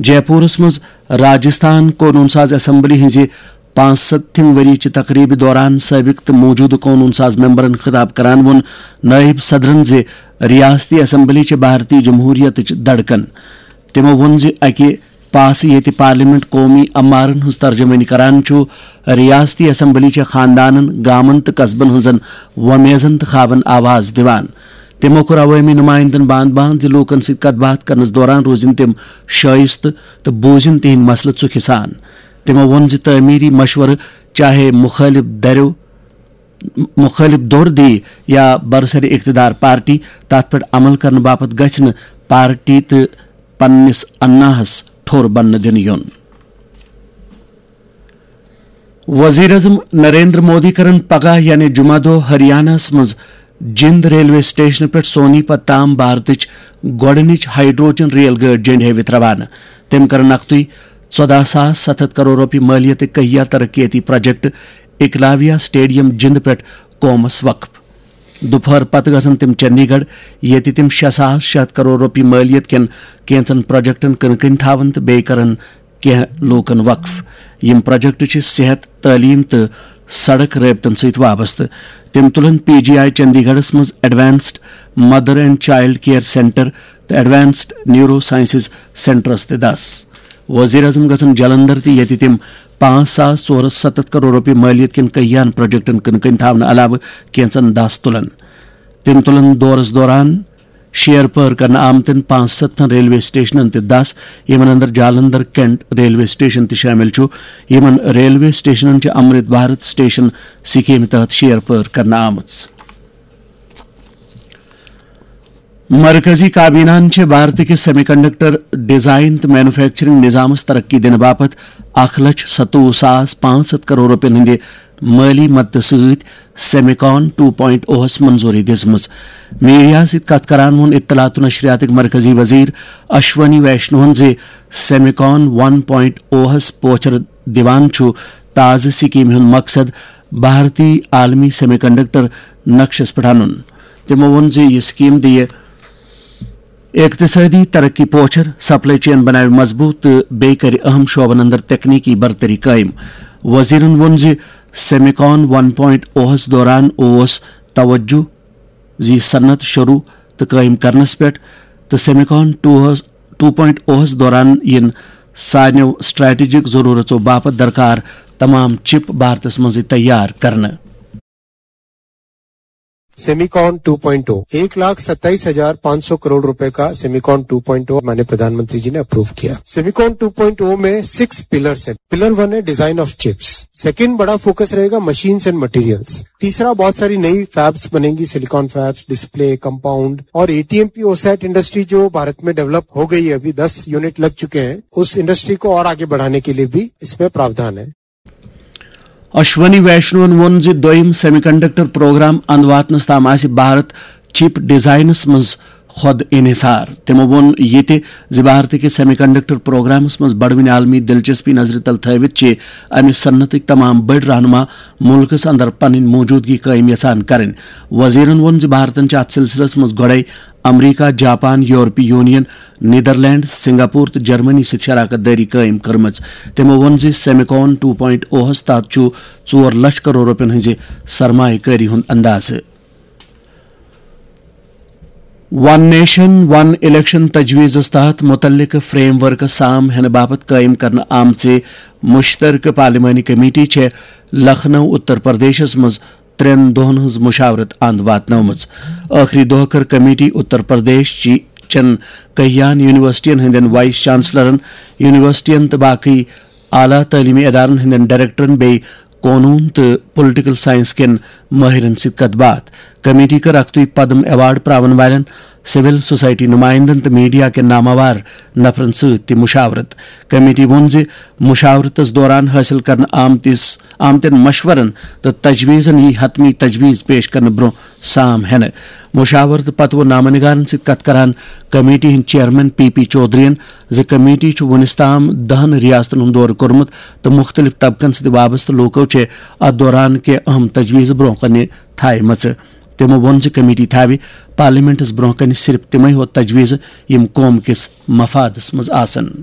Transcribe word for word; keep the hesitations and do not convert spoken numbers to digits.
J پورس منٛز راجستھان قونوٗن ساز اسمبلی ہٕنٛزِ پانٛژھ ستتھِم ؤریہِ چہِ تقریبہِ دوران سٲبِق تہٕ موٗجوٗدٕ قونوٗن ساز ممبرن خطاب کران ووٚن نٲیِب صدرن زِ ریاستی اسمبلی چھِ بھارتی جمہوریتٕچ دھڑکن۔ تِمو ووٚن زِ اَکہِ پاسہٕ ییٚتہِ پارلیمنٹ قومی امارن ہٕنٛز ترجمٲنی کران چھُ، ریاستی اسمبلی چھےٚ خاندانن، گامن تہٕ قصبن ہٕنٛزن وۄمیزن تہٕ خوابن آواز دِوان۔ تِمو کوٚر عوٲمی نمائندن باند باند زِ لوٗکن سۭتۍ کتھ باتھ کرنس دوران روزن تِم شٲیستہٕ تہٕ بوزن تِہنٛدۍ مسلہٕ ژُکھِ سان۔ تِمو ووٚن زِ تعمیری مشورٕ، چاہے مُخٲلِف دَرٮ۪و، مُخٲلِف دور دی یا برسر اقتدار پارٹی، تَتھ پٮ۪ٹھ عمل کرنہٕ باپتھ گژھِ نہٕ پارٹی تہٕ پننِس اناہس ٹھوٚر بننہٕ دِنہٕ یُن۔ وزیر اعظم نریندر مودی کرن پگاہ یعنی جمعہ دۄہ ہریانہ ہس منٛز جِنٛد ریلوے سٹیشنہٕ پٮ۪ٹھ سونی پت تام بھارتٕچ گۄڈٕنِچ ہائیڈروجن ریل گٲڑۍ جنٛڈِ ہٲوِتھ روانہٕ۔ تٔمۍ کرن اکھتُے ژۄداہ ساس ستھ ہتھ کرور رۄپیہِ مٲلیتٕکۍ کہیا ترقیتی پروجیکٹ اکلاویا سٹیڈیم جِنٛد پٮ۪ٹھ قومس وقف۔ دُپہر پتہٕ گژھن تِم چندی گڑھ، ییٚتہِ تِم شےٚ ساس شےٚ ہتھ کرور رۄپیہِ مٲلیت کٮ۪ن کینٛژن پروجیکٹن کٕنہٕ کٕنۍ تھاون تہٕ بیٚیہِ کرن کینٛہہ لوٗکن وقف۔ یِم پروجیکٹ چھِ صحت، تعلیٖم تہٕ سڑک رٲبطن سۭتۍ وابستہٕ۔ تِم تُلن پی جی آئی چندی گڑھس منٛز advanced mother and child care centre تہٕ ایڈوانسڈ نیورو سائنسز سینٹرس تہِ دس۔ وزیر اعظم گژھن جلندر تہِ، ییٚتہِ تِم پانٛژھ ساس ژور ہتھ ستتھ کرور رۄپیہِ مٲلیت کٮ۪ن کہیاہن پروجیکٹن کٕنہٕ کٕنۍ تھاونہٕ علاوٕ کینٛژن دس تُلن۔ تِم تُلن دورس دوران شیر پٲر کرنہٕ آمتٮ۪ن پانٛژھ ستتھن ریلوے سٹیشنن تہِ دس، یِمن اندر جالندھر کینٹ ریلوے سٹیشن تہِ شٲمِل چھُ۔ یِمن ریلوے سٹیشنن چھِ امرت بھارت سٹیشن سکیمہِ تحت شیر پٲر کرنہٕ آمٕژ۔ مرکزی کابینہن چھِ بھارت کِس سیمی کنڈکٹر ڈیزائن تہٕ مینوفیکچرنگ نظامس ترقی دِنہٕ باپتھ اکھ لچھ ستووُہ ساس پانٛژھ ہتھ کرور رۄپین ہٕنٛدِ مٲلی مدتہٕ سۭتۍ سیمیکان ٹو پوائنٹ اوہس منظوٗری دِژمٕژ۔ میڈیا سۭتۍ کتھ کران ووٚن اطلاعات و نشریاتٕکۍ مرکزی وزیر اشونی ویشنوہن زِ سیمیکان ون پوائنٹ اوہس پوچھر دِوان چھُ تازٕ سکیمہِ ہُنٛد مقصد بھارتی عالمی سیمی کنڈکٹر نقشس پٮ۪ٹھ انُن۔ تِمو ووٚن زِ یہِ سکیٖم دِیہِ اقتصٲدی ترقی پوچھر، سپلائی چین بناوِ مضبوٗط تہٕ بیٚیہِ کرِ اہم شعبن اندر تکنیکی برتری قٲیِم۔ وزیرن ووٚن زِ سیمیکان ون پوائنٹ اوہس دوران اوس توجہ زِ صنعت شروع تہٕ قٲیِم کرنس پٮ۪ٹھ تہٕ سیمیکان ٹوہس، ٹو پوائنٹ اوہس دوران یِن سارنیو اسٹریٹجک ضرورژو باپتھ درکار تمام چپ بھارتس منٛزٕے تیار کرنہٕ۔ सेमीकॉन टू पॉइंट ओ, एक लाख सत्ताईस हजार पाँच सौ करोड़ रुपए का सेमीकॉन टू पॉइंट ओ माननीय प्रधानमंत्री जी ने अप्रूव किया। सेमीकॉन टू पॉइंट ओ में सिक्स पिलर्स हैं। पिलर वन है डिजाइन ऑफ चिप्स, सेकंड बड़ा फोकस रहेगा मशीन्स एंड मटेरियल्स, तीसरा बहुत सारी नई फैब्स बनेंगी, सिलिकॉन फैब्स, डिस्प्ले, कंपाउंड, और एटीएमपी ओसैट इंडस्ट्री जो भारत में डेवलप हो गई है, अभी दस यूनिट लग चुके हैं, उस इंडस्ट्री को और आगे बढ़ाने के लिए भी इसमें प्रावधान है। اشونی ویشنون ووٚن زِ دوٚیم سیمی کنڈکٹر پروگرام اند واتنس تام آسہِ بھارت چپ ڈیزائنس منٛز خود انحصار۔ تِمو ووٚن یہِ تہِ زِ بھارت کِس سیمی کنڈکٹر پروگرامس منٛز بڑوٕنۍ عالمی دلچسپی نظرِ تل تھٲوِتھ چھِ امہِ صنعتٕکۍ تمام بٔڑۍ رہنما مُلکس اندر پنٕنۍ موجودگی قٲیِم یژھان کرٕنۍ۔ وزیرن ووٚن زِ بھارتن چھِ اتھ سلسلس منٛز گۄڈے امریکہ، جاپان، یورپی یونین، نیدرلینڈ، سنگاپور تہٕ جرمنی سۭتۍ شراکت دٲری قٲیِم کٔرمٕژ۔ تِمو ووٚن زِ سیمیکون ٹو پوائنٹ اوہس تحت چھُ ژور لچھ کرور رۄپین ہٕنٛزِ سرمایہ کٲری ہُنٛد اندازٕ۔ ون نیشن ون الیکشن تجویزس تحت متعلقہٕ فریم ورکس سام ہینہٕ باپتھ قٲیِم کرنہٕ آمژِ مشترکہٕ پارلیمانی کمیٹی چھےٚ لکھنؤ، اتر پردیشس منٛز ترٛٮ۪ن دۄہن ہٕنٛز مشاورت اند واتنٲومٕژ۔ ٲخری دۄہ کٔر کمیٹی اتر پردیش چی-، چٮ۪ن کہیاہن یونیورسٹین ہٕنٛدٮ۪ن وائس چانسلرن، یونیورسٹین تہٕ باقی اعلیٰ تعلیمی ادارن ہٕنٛدٮ۪ن ڈائریکٹرن بیٚیہِ قونوٗن تہٕ پولیٹیکل سائنس کٮ۪ن مٲہرن سۭتۍ کتھ باتھ۔ کمیٹی کٔر اکھتُے پدم ایوارڈ پراون والٮ۪ن، سول سوسائٹی نمائندن تہٕ میڈیا کٮ۪ن ناماوار نفرن سۭتۍ تہِ مشاورت۔ کمیٹی ووٚن زِ مشاورتس دوران حٲصِل کرنہٕ آمتِس، آمتٮ۪ن مشورن تہٕ تجویزن یی حتمی تجویز پیش کرنہٕ برونٛہہ سام ہینہٕ۔ مشاورتہٕ پتہٕ ووٚن نامہ نگارن سۭتۍ کتھ کران کمیٹی ہٕنٛدۍ چیئرمین پی پی چودھرین زِ کمیٹی چھُ وُنِس تام دہن ریاستن ہُنٛد دورٕ کوٚرمُت تہٕ مُختٔلِف طبقن سۭتۍ وابستہٕ لوٗکو چھِ اتھ دوران کینٛہہ اہم تجویز برونٛہہ کنہِ تھایمژٕ۔ تِمو ووٚن زِ کمیٹی تھاوِ پارلیمنٹس برونٛہہ کنہِ صرف تِمے ہوت تجویز یِم قوم کِس مفادس منٛز آسن۔